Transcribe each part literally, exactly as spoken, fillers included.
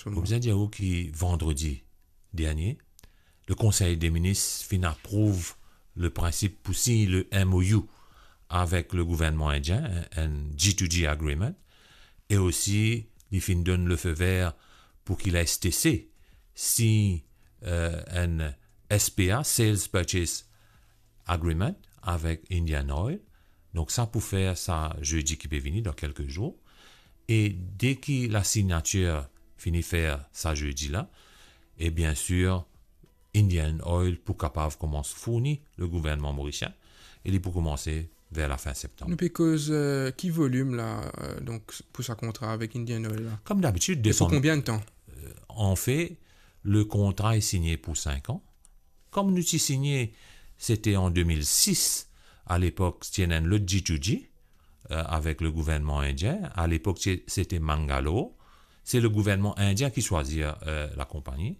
Mo bizin dir ou ki vandredi dernie, le Konsey de Minis finn aprouv le prinsip pou sign le M O U avek le gouvernman indien, enn, enn G to G agreement, e osi li finn donn le feu vert pou ki la S T C sign, eh, enn S P A, Sales Purchase Agreement, avek Indian Oil. Donk sa pou fer sa zedi ki pe vini, dan kelke zour. E deki la signatir fini fer sa zedi la, e biensir, Indian Oil pou kapav koumans fourni le gouvernman morisien, e li pou koumanse ver lafin septanm. Nou pe koz, eh, ki volim la, eh, donk, pou sa kontra avek Indian Oil la? Kom dabitid, e pou desann konbien de tan? Eh, anfet, le kontra est signé pour cinq ans. Kom nou ti signe, sete an de mil sis, alepok, ti ena enn lot G to G, eh, avek le gouvernman indien. Alepok, ti, sete Mangalore. Se le gouvernman indien ki swazir, eh, lakonpani.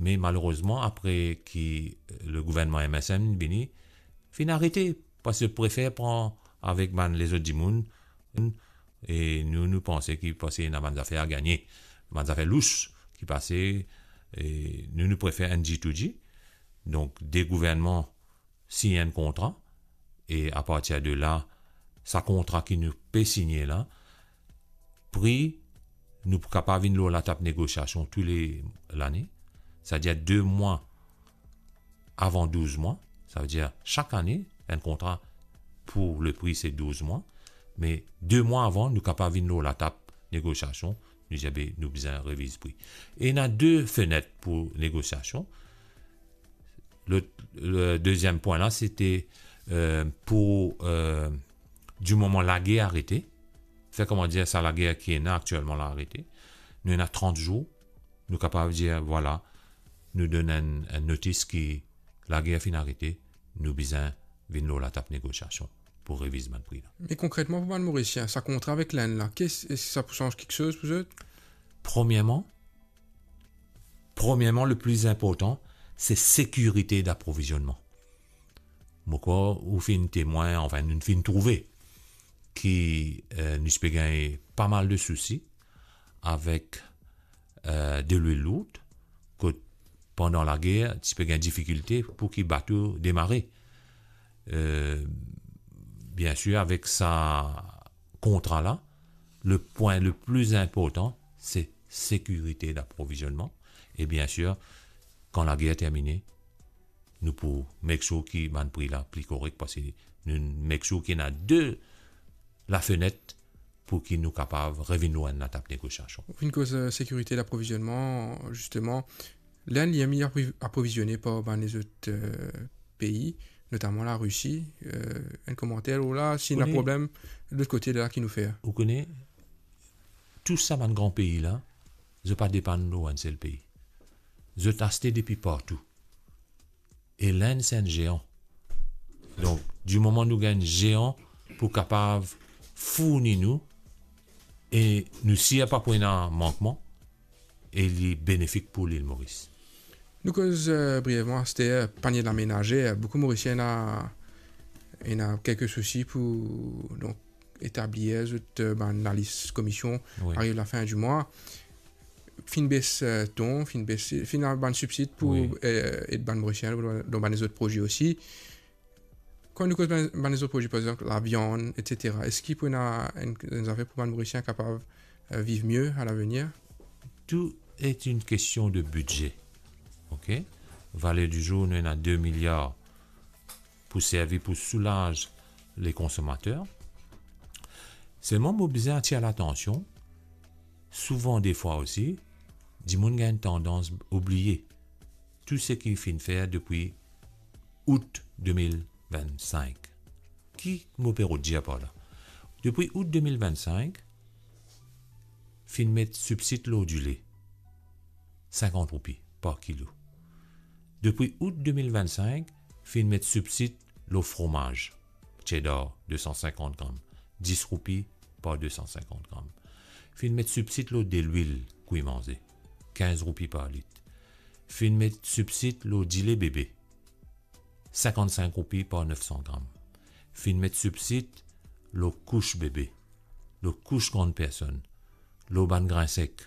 Me malerezman, apre ki, eh, le gouvernman M S M vini, finn arete, parski prefer pran avek bann lezot dimoun, e nou, nou panse ki, parski ena bann zafer a gagne, bann zafer lous ki pase, e nou, nou prefer enn G to G. Donk, de gouvernman sign enn kontra, e apartir de la, sa kontra ki nou pe signe la, pri, nou pou kapav vinn lor latab negosiasion tou le lane, setadir de mwa avan douz mwa, savedir sak ane, enn kontra pou le pri se douz mwa, me de mwa avan, nou kapav vinn lor latab negosiasion, nou dir, be, nou bizin reviz pri. E ena de fenet pou negosiasion. Le, le deziem pwin la, sete, eh, pou, eh, di moman lager arete, fer, kouma dir, sa lager ki ena aktielman la arete, nou ena trant zour, nou kapav dir, vwala, nou donn enn, enn notis ki lager finn arete, nou bizin vinn lor latab negosiasion pou reviz bann pri la. Me konkretman, pou bann Morisien, sa kontra avek Lenn la, ki, eski sa pou sanz kiksoz pou zot? Premierman, premierman, le pli inportan, se sekirite daprovizionman. Mo krwar ou finn temwin, anfin, nou finn trouve ki, eh, nou ti pe gagn pa mal de sousi avek, eh, delwil lour, kot pandan lager, ti pe gagn difikilte pou ki bato demare. Eh, biensir, avek sa kontra la, le pwin le pli inportan, se sekirite daprovizionman. E biensir, kan lager termine, nou pou make sure ki bann pri la pli korek, parski nou make sure ki ena de lafenet pou ki nou kapav revinn lor enn latab negosiasion. Ou finn koz, eh, sekirite daprovizionman, zisteman, Lenn li aim aprovi-, aprovizione par bann lezot, eh, pei, notaman Larisi. Eh, enn komanter lor la, si ena problem, lot kote la ki nou fer? Ou kone, tou sa bann gran pei la, zot pa depann lor enn sel pei. Zot aste depi partou. E Lenn se enn zean. Donk, di moman nou gagn zean pou kapav fourni nou, e nou sir pa pou ena mankman, e li benefik pou Lil Moris. Nou koz, eh, brievman, aster, panie de la menazer. Boukou Morisien ena, ena kelke sousi pou, donk, etablir zot, eh, bann lalis komision, wi, ariv lafin di mwa. Finn bes, eh, ton, finn bes, finn ena bann sibsid pou, wi, eh, ed bann Morisien dan, dan bann lezot proze osi. Kan nou koz bann, bann lezot proze, par exanp, laviann, et cetera, eski pou ena enn, enn zafer pou bann Morisien kapav, eh, viv mie alavenir? Tout est une question de budget. Ok? Valer di zour, nou ena de miliar pou servi pou soulaz le konsomater. Selman, mo bizin atir latansion, souvan defwa osi, dimoun gagn tandans oubliye tou seki finn fer depi out de mil vinn-sink. Ki mo pe rod dir par la? Depi out de mil vinn-sink, finn met sibsid lor dile, sinkant roupi par kilo. Depi out de mil vinn-sink, finn met sibsid lor fromaz, cheddar, de san sinkant gram, dis roupi par de san sinkant gram. Finn met sibsid lor delwil kwi manze, kinz roupi par lit. Finn met sibsid lor dile bebe, sinkant-sink roupi par nef san gram. Finn met sibsid lor kous bebe, lor kous grann personn, lor bann grin sek,